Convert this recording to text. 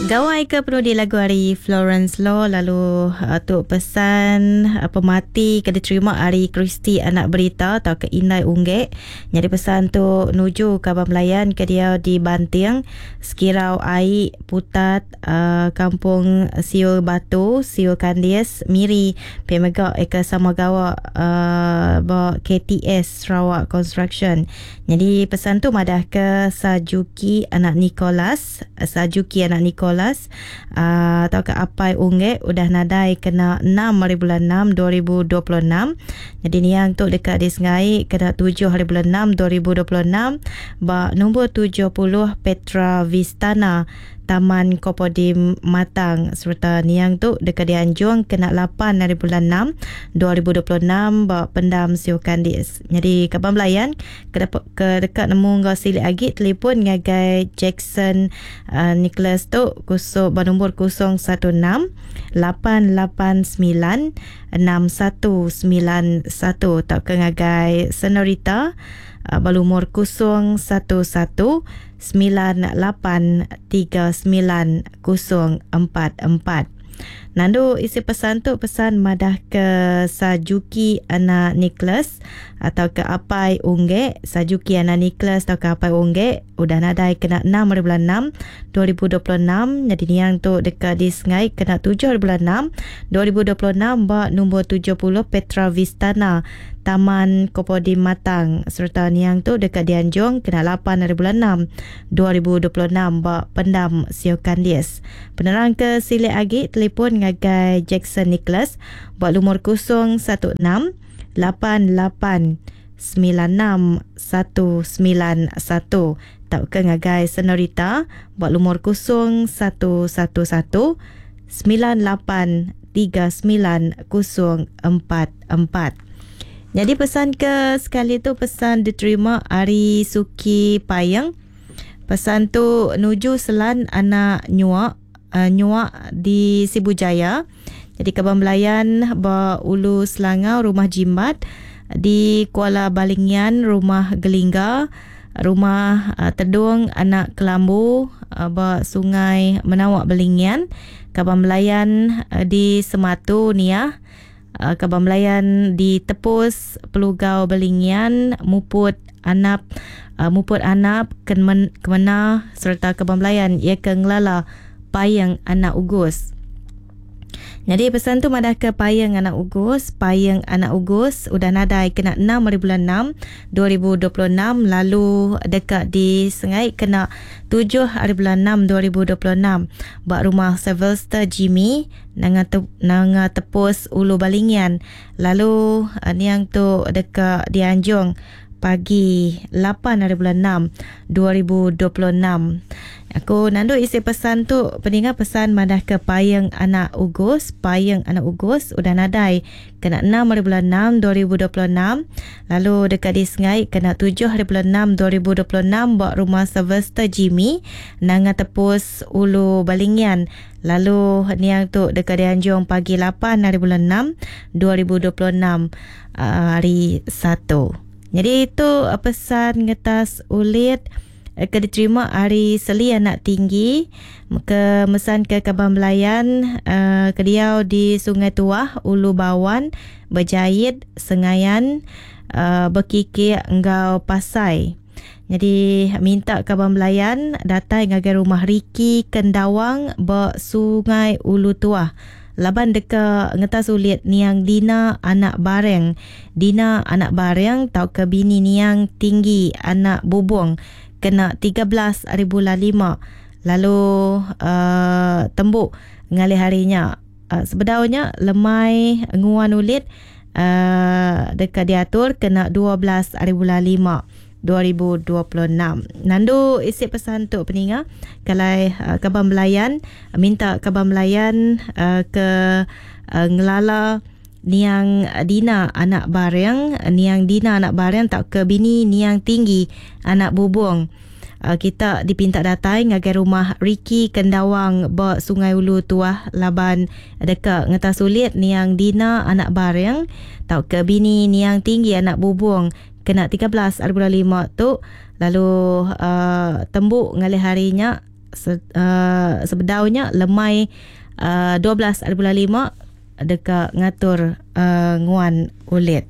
Gawai ke penudi lagu ari Florence Law lalu uh, tu pesan uh, pemati ke diterima ari Christy anak berita atau ke Indai Unggek. Nyadi pesan tu nuju kaban belayan ke dia di Banting, Sekirau Ai, Putat, uh, Kampung Siul Batu, Siul Kandis, Miri, pia mega eka sama gawa uh, ba KTS Sarawak Construction. Nyadi pesan tu madah ke Sajuki anak Nicholas, Sajuki anak Nicholas uh, atau ke Apai Unggek udah nadai kena 6 hari bulan 6 2026. Jadi niang tu dekat di Sengai kena 7 hari bulan 6 2026 ba nombor 70 Petra Vistana Taman Kopodim Matang sereta niang tu deka dianjung kena 8 hari bulan 6 2026 ba Pendam Siu Kandis. Nyadi kaban belayan ke, ke deka nemu enggau silik agi telefon ngagai Jackson uh, Nicholas tu kusuk ba nombor 016 889 6191 tauka ngagai Senorita uh, ba lumur 011 9839044. Nandu isi pesan tu pesan madah ke Sajuki anak Nicholas atau ke Apai Unggek. Sajuki anak Nicholas atau ke Apai Unggek udah nadai kena 6 hari bulan 6 2026. Jadi niang tu dekat di Sengai kena 7 hari bulan 6 2026 ba nombor 70 Petra Vistana Taman Kopodim Matang sereta niang tu dekat dianjung kena 8 hari bulan 6 2026 ba Pendam Sio Kandis. Penerang ke silik agi telefon ngagai Jackson Nicholas ba lumur 016 88 96 191 tauka ngagai Senorita ba lumur 0111 98 39044. Jadi pesan ke sekali tu pesan diterima ari Suki Payang. Pesan tu nuju Selan anak Nyuak uh, Nyuak di Sibu Jaya. Jadi kaban belayan ba Ulu Selangau Rumah Jimbat di Kuala Balingian Rumah Gelingga Rumah uh, Tedung Anak Kelambu uh, ba Sungai Menawak Balingian kaban belayan uh, di Sematu Niah uh, kaban belayan di Tepus Pelugau Balingian Muput Anap uh, Muput Anap Kemen, Kemena serta kaban belayan ia ke ngelala Payang Anak Ugus. Jadi pesan tu madah ke Payang Anak Ugus, Payang Anak Ugus udah nadai kena 6 hari bulan 6 2026 lalu dekat di Sengai kena 7 hari bulan 6 2026 ba rumah Sylvester Jimmy nanga te, nanga tepus Ulu Balingian lalu uh, niang tu dekat dianjung pagi 8 hari bulan 6 2026. Aku nandu isi pesan tu peninga pesan madah ke Payang Anak Ugus, Payang Anak Ugus udah nadai kena 6 hari bulan 6 2026 lalu dekat di Sengai kena 7 hari bulan 6 2026 ba rumah Sylvester Jimmy nanga tepus Ulu Balingian lalu niang tu dekat dianjung pagi 8 hari bulan 6 2026 uh, hari 1. Jadi itu pesan ngetas ulit ke diterima hari Seli anak tinggi ke mesan ke Kaban Belayan uh, ke diau di Sungai Tuah Ulu Bawan Berjait Sengayan uh, Bekikik enggau Pasai. Jadi minta Kaban Belayan datai ngagai rumah Riki Kendawang ba Sungai Ulu Tuah. Laban deka ngetas ulit niang Dina anak Bareng. Dina anak Bareng tau ke bini niang tinggi anak Bubung kena 13 hari bulan 5. Lalu uh, tembuk ngalih harinya. Uh, sebedaunya lemai nguan ulit uh, dekat diatur kena 12 hari bulan 5. 2026. Nandu isi pesan tu peninga kalau uh, Kaban Belayan minta Kaban Belayan uh, ke uh, ngelala niang Dina anak Bareng, niang Dina anak Bareng tak ke bini niang tinggi anak Bubung. Uh, kita dipinta datai ngagai rumah Ricky Kendawang ba Sungai Ulu Tuah laban dekat ngetas sulit niang Dina anak Bareng tau ke bini niang tinggi anak Bubung kena 13 hari bulan 5 tu lalu uh, tembuk ngalih harinya. Se, uh, sebedau nya lemai 12 hari bulan 5 deka ngatur nguan ulit.